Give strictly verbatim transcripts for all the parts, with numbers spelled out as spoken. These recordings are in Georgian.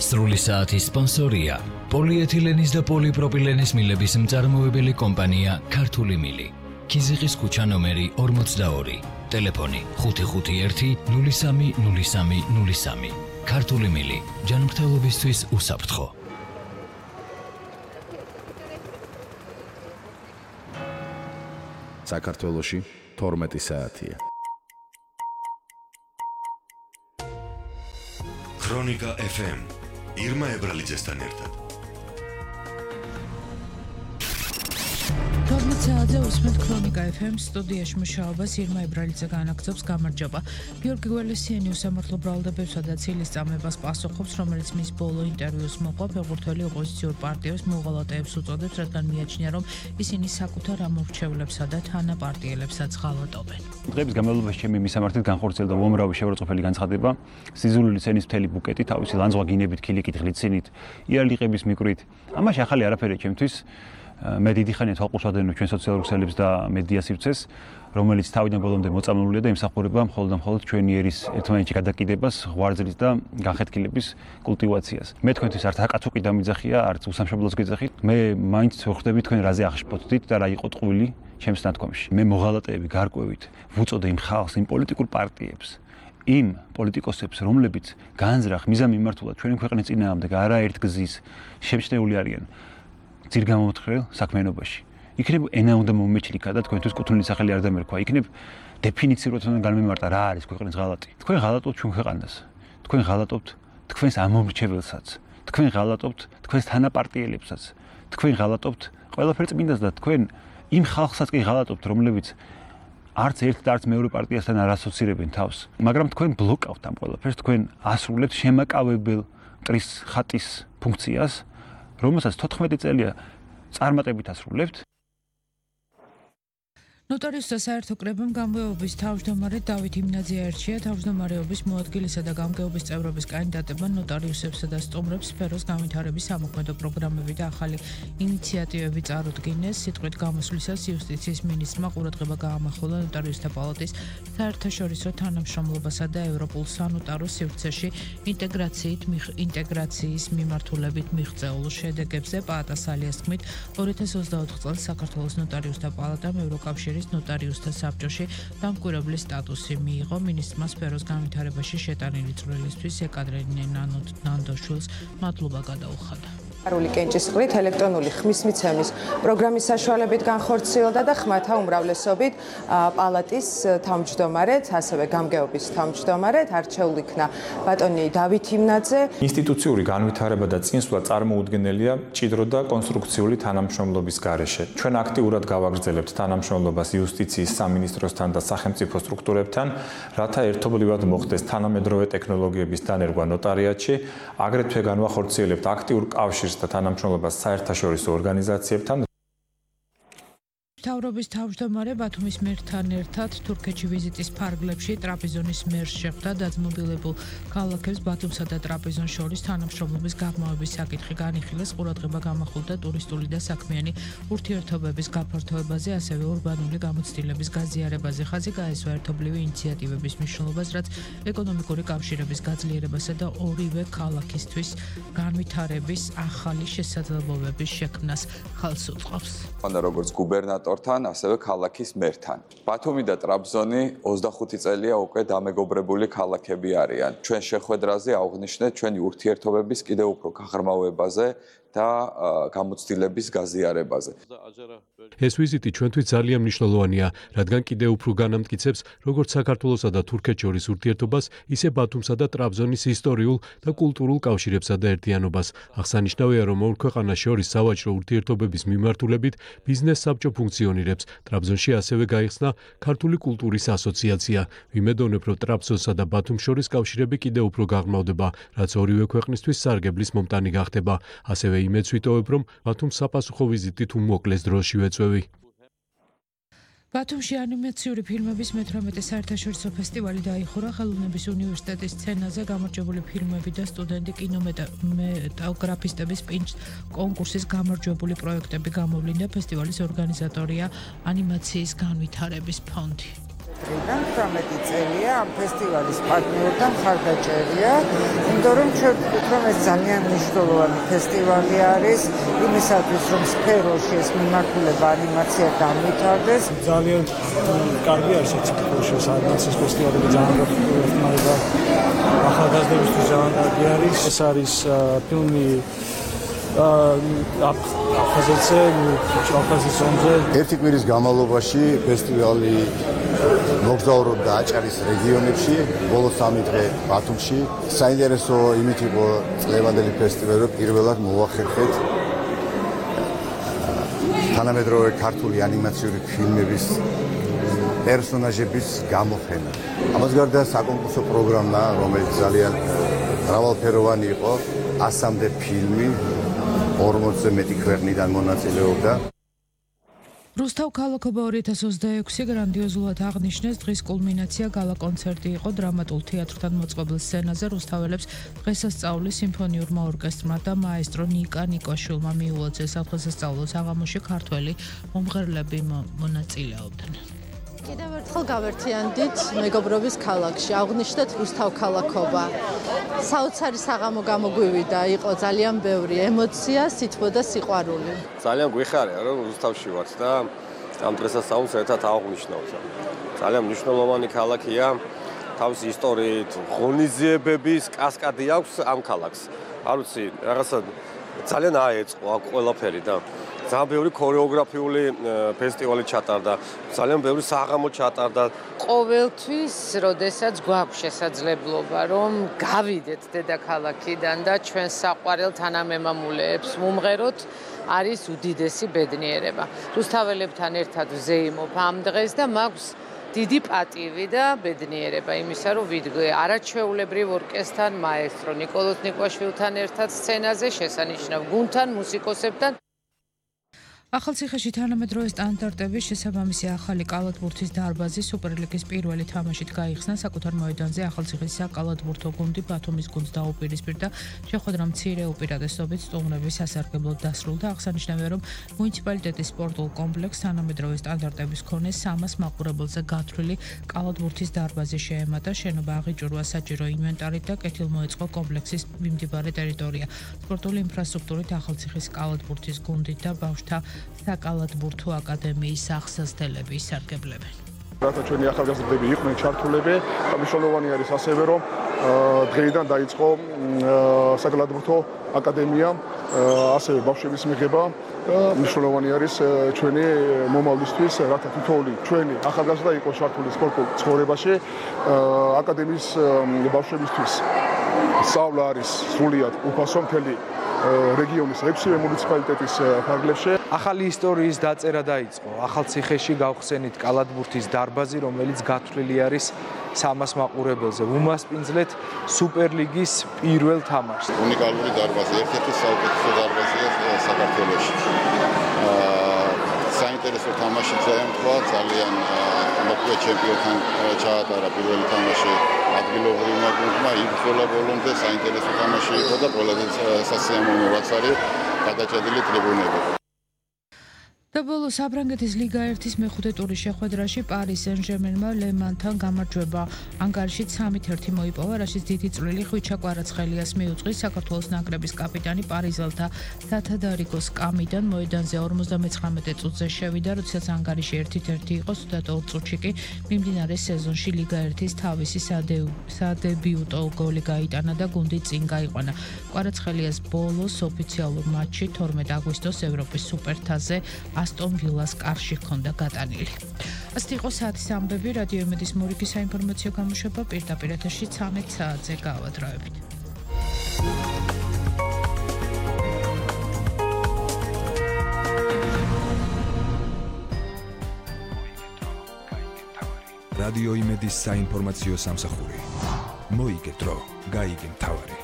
სრული საათის სპონსორია პოლიეთილენის და პოლიპროპილენის მილების მწარმოებელი კომპანია ქართული მილი. ქიზიყის ქუჩა ნომერი ორმოცდაორი. ტელეფონი ხუთი ხუთი ერთი ნული სამი ნული სამი ნული სამი. ქართული მილი ჯანმრთელობისთვის უსაფრთხო. საქართველოში თორმეტი საათია. ქრონიკა ეფ ემ ირმა ებრალიძესთან ერთად. თორმეტ საათზე უსმენთ ქრონიკა ეფ ემ სტუდიაში მუშაობას ირმა ებრალიძე განაგრძობს. გამარჯობა. გიორგი გველესიანი უსამართლო ბრალდებებსა და ცილის წამებას პასუხობს, რომელიც მის ბოლო ინტერვიუს მოყვა ფეხბურთელი ოპოზიციურ პარტიებს მოღალატეებს უწოდებს, რადგან მიაჩნია, რომ ისინი საკუთარ ამორჩევლებსა და თანაპარტიელებსაც ღალატობენ. დღეების განმავლობაში ჩემი მისამართით განხორციელდა უამრავი შეურაცხყოფელი განცხადება, სიზულული სცენის მთელი ბუკეტი, თავისი ლანძღვა გინებით, ქილიკით, ღლიცინით, იარლიყების მიკვრით. ამაში ახალი არაფერია ჩემთვის. მე დიდი ხანია თვალყურს ვადევნებ ჩვენ სოციალურ ქსელებს და მედია სივრცეს, რომელიც თავიდან ბოლომდე მოწამლულია და იმსახურება მხოლოდ და მხოლოდ ჩვენი ერის ერთმანეთში გადაკიდებას, ღვარძლის და განხეთქილების კულტივაციას. მე თქვენთვის არც აკაცუკი დამიძახია, არც უსამშობლოს გეძახით. მე მაინც ვხვდები თქვენ რაზე აღშფოთდით და რა იყო ტყუილი ჩემს ნათქვამში. მე მოღალატეები გარკვევით ვუწოდე იმ ხალხს, იმ პოლიტიკურ პარტიებს, იმ პოლიტიკოსებს, რომლებიც განზრახ მიზანმიმართულად ჩვენი ქვეყნის წინააღმდეგ არაერთ გზის შემჩნეული არიან ძირგამომთხრელ საქმიანობაში. იქნებ ენა უნდა მომეჩლიქა და თქვენთვის კუთვნილი სახელი არ დამერქვა. იქნებ დეფინიციურად უნდა განმემარტა რა არის ქვეყნის ღალატი. თქვენ ღალატობთ ჩვენ ქვეყანას. თქვენ ღალატობთ თქვენს ამომრჩეველსაც. თქვენ ღალატობთ თქვენს თანაპარტიელებსაც. თქვენ ღალატობთ ყველაფერ წმინდას და თქვენ იმ ხალხსაც კი ღალატობთ, რომლებიც არც ერთ და არც მეორე პარტიასთან არ ასოცირებენ თავს. მაგრამ თქვენ ბლოკავთ ამ ყველაფერს, თქვენ ასრულებთ შემაკავებელ მტრის ხატის ფუნქციას, რომელსაც თოთხმეტი წელია წარმატებით ასრულებთ. ნოტარიუსთა საერთო კრებამ გამგეობის თავმჯდომარე დავით იმნაძე აირჩია. თავმჯდომარეობის მოადგილისა და გამგეობის წევრობის კანდიდატებმა ნოტარიუსებსა და სტუმრებს სფეროს განვითარების სამოქმედო პროგრამები და ახალი ინიციატივები წარუდგინეს. სიტყვით გამოსვლისას იუსტიციის მინისტრმა ყურადღება გაამახვილა ნოტარიუსთა პალატის საერთაშორისო თანამშრომლობასა და ევროპულ სანოტარო სივრცეში ინტეგრაციით ინტეგრაციის მიმართულებით მიღწეულ შედეგებზე. პაატას ალიას თქმით, ორი ათას ოცდაოთხ წელს საქართველოს ნოტარიუსთა პალატამ ევროკავშირის ნოტარიუსთა საბჭოში დამკვირვებლის სტატუსი მიიღო. მინისტრმა სფეროს განვითარებაში შეტანილი წვლილისთვის ეკატერინე ნანდოშვილს მადლობა გადაუხადა. არული კენჭისყრით ელექტრონული ხმისმიცემის პროგრამის საშუალებით განხორციელდა და ხმათა უმრავლესობით პალატის თავმჯდომარედ, ასევე გამგეობის თავმჯდომარედ არჩეულ იქნა ბატონი დავით იმნაძე. ინსტიტუციური განვითარება და წინსვლა წარმოუდგენელია მჭიდრო და კონსტრუქციული თანამშრომლობის გარეშე. ჩვენ აქტიურად გავაგრძელებთ თანამშრომლობას იუსტიციის სამინისტროსთან და სახელმწიფო სტრუქტურებთან, რათა ერთობლივად მოხდეს თანამედროვე ტექნოლოგიების დანერგვა ნოტარიატში, აგრეთვე განვახორციელებთ აქტიურ კავშირს და თანამშრომლობას საერთაშორისო ორგანიზაციებთან. მთავრობის თავმჯდომარე ბათუმის მერთან ერთად თურქეთში ვიზიტის ფარგლებში ტრაპიზონის მერს შეხვდა. დაძმობილებულ ქალაქებს ბათუმსა და ტრაპიზონს შორის თანამშრომლობის გაღრმავების საკითხი განიხილეს. ყურადღება გამახვილდა ტურისტული და საქმიანი ურთიერთობების გაფართოებაზე, ასევე ურბანული გამოცდილების გაზიარებაზე. ხაზი გაესვა ერთობლივი ინიციატივების მნიშვნელობას, რაც ეკონომიკური კავშირების გაძლიერებასა და ორივე ქალაქისთვის განვითარების ახალი შესაძლებლობების შექმნას ხელს უწყობს. როგორც გუბერნატორ თან, ასევე ქალაქის მერთან. ბათუმი და ტრაბზონი ოცდახუთი წელია უკვე დამეგობრებული ქალაქები არიან. ჩვენ შეხვედრაზე აღვნიშნეთ ჩვენი ურთიერთობების კიდევ უფრო გაღრმავებაზე და გამოცდილების გაზიარებაზე. ეს ვიზიტი ჩვენთვის ძალიან მნიშვნელოვანია, რადგან კიდევ უფრო განამტკიცებს როგორც საქართველოსა და თურქეთს შორის ურთიერთობას, ისე ბათუმსა და ტრაბზონის ისტორიულ და კულტურულ კავშირებსა და ერთიანობას. აღსანიშნავია, რომ ორ ქვეყანას შორის სავაჭრო ურთიერთობების მიმართულებით ბიზნეს საბჭო ფუნქციონირებს. ტრაბზონში ასევე გაიხსნა ქართული კულტურის ასოციაცია. ვიმედოვნებ, რომ ტრაბზონსა და ბათუმს შორის კავშირები კიდევ უფრო გაღრმავდება, რაც ორივე ქვეყნისთვის სარგებლის მომტანი გახდება. ასევე იმედს ვიტოვებ, რომ ბათუმს საპასუხო ვიზიტი თუ მოკლეს დროში ვეწვევი. ბათუმში ანიმაციური ფილმების მეთვრამეტე საერთაშორისო ფესტივალი დაიხურა. ხელოვნების უნივერსიტეტის სცენაზე გამარჯვებული ფილმები და სტუდენტი კინომეტალგრაფისტების პინჩ კონკურსის გამარჯვებული პროექტები გამოვლინდა. ფესტივალის ორგანიზატორია ანიმაციის განვითარების ფონდი. დღიდან თვრამეტი წელია ამ ფესტივალის პარტნიორი და მხარდაჭერია, იმიტომ რომ ჩვენ ვთქვით, რომ ეს ძალიან მნიშვნელოვანი ფესტივალი არის იმისათვის, რომ სფეროში ეს მიმართულება ანიმაცია განვითარდეს. ძალიან კარგი არის ეს სფეროში ანიმაციის ფესტივალი ძალიან გახმარება ახალგაზრდებისთვის ძალიან კარგი არის. ეს არის ფილმი აფხაზეთზე, აფხაზეთის ომზე. ერთი კვირის განმავლობაში ფესტივალი მოგზაურობდა აჭარის რეგიონებში, ბოლო სამი დღე ბათუმში. საინტერესო იმით იყო წლევანდელი ფესტივალი, რომ პირველად მოახერხეთ თანამედროვე ქართული ანიმაციური ფილმების პერსონაჟების გამოხენა. ამას გარდა საკონკურსო პროგრამა, რომელიც ძალიან მრავალფეროვანი იყო, ასამდე ფილმი ორმოცზე მეტი ქვეყნიდან მონაწილეობდა. რუსთავ ქალაქობა ორი ათას ოცდაექვსი გრანდიოზულად აღნიშნეს. დღის კულმინაცია გალა კონცერტი იყო დრამატულ თეატრთან მოწყობილ სცენაზე. რუსთაველებს დღესასწაული სიმფონიურმა ორკესტრმა და მაესტრო ნიკა ნიკოშვილმა მიულოცეს. დღესასწაულო საღამოში ქართველი მომღერლები მონაწილეობდნენ. კიდევ ერთხელ გავერთიანდით მეგობრობის ქალაქში, აღნიშნეთ რუსთავ ქალაქობა. საოცარი საღამო გამოგვივიდა, იყო ძალიან ბევრი ემოცია, სითბო და სიყვარული. ძალიან გვიხარია, რომ რუსთავში ვართ და ამ დღესასწაულს ერთად აღნიშნავთ. ძალიან მნიშვნელოვანი ქალაქია, თავისი ისტორიით, ღონისძიებების კასკადი აქვს ამ ქალაქს. არ ვიცი, რაღაცა ძალიან აეწყო აქ ყველაფერი და ძალიან ბევრი ქორეოგრაფიული ფესტივალი ჩატარდა, ძალიან ბევრი საღამო ჩატარდა. ყოველთვის, როდესაც გვაქვს შესაძლებლობა, რომ გავიდეთ დედაქალაქიდან და ჩვენ საყვარელ თანამემამულეებს ვუმღეროთ, არის უდიდესი ბედნიერება. რუსთაველებთან ერთად ვზეიმობ ამ დღეს და მაქვს დიდი პატივი და ბედნიერება იმისა, რომ ვიდგე არაჩვეულებრივ ორკესტრთან, მაესტრო ნიკოლოზ ნიკოშვილთან ერთად სცენაზე, შესანიშნავ გუნდთან, მუსიკოსებთან. ახალციხეში თანამედროვე სტანდარტების შესაბამისი ახალი კალათბურთის დარბაზი სუპერლიგის პირველი თამაშით გაიხსნა საკუთარ მოედანზე. ახალციხის საკალათბურთო გუნდი ბათუმის გუნდს დაუპირისპირდა. შეხვედრა მცირე უპირატესობით სტუმრების სასარგებლოდ დასრულდა. აღსანიშნავია, რომ მუნიციპალიტეტის სპორტულ კომპლექსს თანამედროვე სტანდარტების მქონე სამას მაყურებელზე გათვლილი კალათბურთის დარბაზი შეემატა. შენობა აღიჭურვა საჭირო ინვენტარით და კეთილმოეწყო კომპლექსის მიმდებარე ტერიტორია. სპორტული ინფრასტრუქტურით ახალციხის კალათბურთის გუნდით და ბავშვთა საკალათბურთო აკადემიის აღსასდელები ისარგებლებენ. რათა ჩვენი ახალგაზრდები იყვნენ ჩართულები, მნიშვნელოვანი არის ასევე, რომ დღეიდან დაიწყო საკალათბურთო აკადემია, ასევე ბავშვების მიღება და მნიშვნელოვანი არის ჩვენი მომავლისთვის, რათა თითოეული ჩვენი ახალგაზრდა იყოს ჩართული სპორტულ ცხოვრებაში. აკადემიის ბავშვებისთვის სწავლა არის სრულიად უფასო მთელი რეგიონის ექვსივე მუნიციპალიტეტის ფარგლებში. ახალი ისტორიის დაწერა დაიწყო. ახალციხეში გავხსენით კალათბურთის დარბაზი, რომელიც გათვლილი არის სამას მაყურებელზე. ვუმასპინძლეთ სუპერლიგის პირველ თამაშს. უნიკალური დარბაზი, ერთ-ერთი საუკეთესო დარბაზია საქართველოში. საინტერესო თამაში ძალიან თქვა, ძალიან მოკლე ჩემპიონთან ჩაატარა პირველი თამაში ადგილობრივმა გუნდმა, იბრძოლა ბოლომდე, საინტერესო თამაში იყო და ყველაზე სასიამოვნოა არის გადაჭედილი ტრიბუნები. და ბოლოს საფრანგეთის ლიგა ერთის მეხუთე ტურის შეხვედრაში პარი სენ-ჟერმენმა ლემანთან გამარჯვება ანგარიშით სამით ერთი მოიპოვა, რაშიც დიდი წვლილი ხვიჩა კვარაცხელიას მიუძღვის. საქართველოს ნაკრების კაპიტანი პარიზელთა სათადარიგოს კამიდან მოედანზე ორმოცდამეცხრამეტე წუთზე შევიდა, როდესაც ანგარიში ერთით ერთი იყო, სუდად ორ წუთში კი მიმდინარე სეზონში ლიგა ერთის თავისი სადებიუტო გოლი გაიტანა და გუნდი წინ გაიყვანა. კვარაცხელიას ბოლოს ოფიციალურ მატჩში თორმეტ აგვისტოს ევროპის სუპერთასზე ასტონ ვილას კარში ჰქონდა გატანილი. ასეთი იყო საათის ამბები. რადიო იმედის მორიგი საინფორმაციო გამოშვება პირდაპირ ეთერში ცამეტ საათზე გავადრავებით. რადიო იმედის საინფორმაციო სამსახური. მოიგე დრო, გაიგე მთავარი.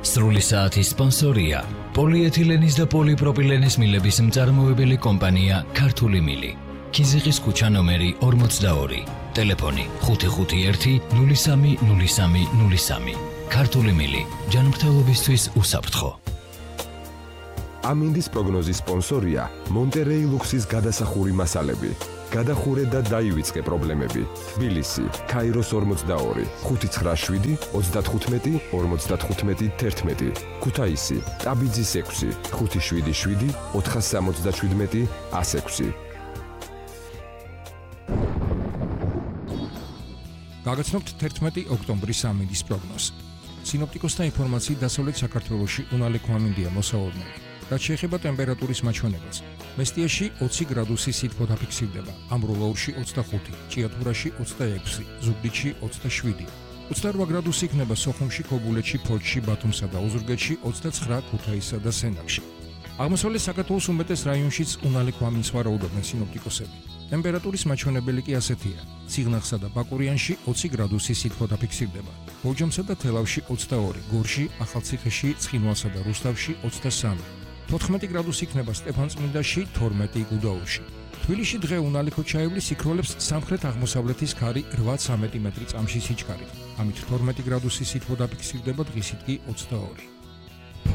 სრული საათის სპონსორია პოლიეთილენის და პოლიპროპილენის მილების მწარმოებელი კომპანია ქართული მილი. ქიზიყის ქუჩა ნომერი ორმოცდაორი. ტელეფონი ხუთი ხუთი ერთი ნული სამი ნული სამი ნული სამი. ქართული მილი ჯანმრთელობისთვის უსაფრთხო. ამინდის პროგნოზის სპონსორია მონტერეი ლუქსის გადასახური მასალები. გადახურე და დაივიწყე პრობლემები. თბილისი, ქაიროს ორმოცდაორი, ხუთი ცხრა შვიდი, ოცდათხუთმეტი, ორმოცდათხუთმეტი, თერთმეტი. ქუთაისი, ტაბიძის ექვსი, ხუთი შვიდი შვიდი, ოთხასამოცდაშვიდმეტი, ას ექვსი. გაგაცნობთ თერთმეტი ოქტომბრის ამინდის პროგნოზს. სინოპტიკოსთა ინფორმაციით დასავლეთ საქართველოში უნალექო ამინდია მოსავალნელი. რაც შეეხება ტემპერატურის მაჩვენებელს, მესტიაში ოცი გრადუსი სითბო დაფიქსირდება, ამბროლაურში ოცდახუთი, ჭიათურაში ოცდაექვსი, ზუგდიდში ოცდაშვიდი, ოცდარვა გრადუსი იქნება სოხუმში, ქობულეთში, ფოთში, ბათუმსა და ოზურგეთში, ოცდაცხრა ქუთაისსა და სენაკში. აღმოსავლეთ საქართველოს უმეტეს რაიონშიც უნალექო ამინდს ვარაუდობენ სინოპტიკოსები. ტემპერატურის მაჩვენებელი კი ასეთია: ციგნახსა და ბაკურიანში ოცი გრადუსი სითბო დაფიქსირდება, ბორჯომსა და თელავში ოცდაორი, გორში, ახალციხეში, ცხინვალსა და რუსთავში ოცდასამი, თოთხმეტი გრადუსი იქნება სტეფანწმინდაში, თორმეტი გუდაუთში. თბილისში დღე უნალექო ჩაივლის იქროლებს სამხრეთ-აღმოსავლეთის ქარი რვაც სამეტი მეტრი წამში სიჩქარით. ამით თორმეტი გრადუსი სითბო დაფიქსირდება, დღისით კი ოცდაორი.